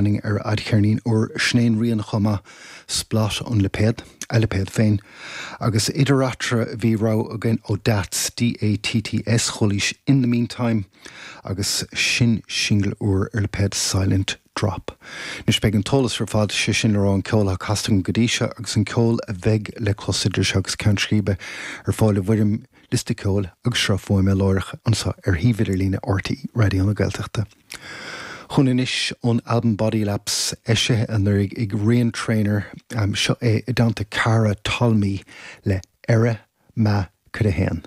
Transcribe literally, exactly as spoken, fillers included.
Ar a fhadcheirnín úr sin é an rian chomh maith, Splot an lipéad, a lipéad féin. Agus idir eatarthu bhí rogha againn ó Datts, D A T T S, chualaís In the Meantime agus sin singil úr ar lipéad Silent Drop. Anois beidh an t-eolas ar fad, sé sin le rá an ceol atá casta go dtí seo agus an ceol a bheidh le clos idir seo agus ceann scríbe, ar fáil i bhfoirm liosta ceoil agus sruth fuaime láithreach anseo ar shuíomh idirlíne R T É Raidió na Gaeltachta. Chugainn anois ón albam Body Laps, eisithe anuraidh ag Rian Treanor, um, seo é i dteannta cara Tolmie le Eire Ma Cuid a haon.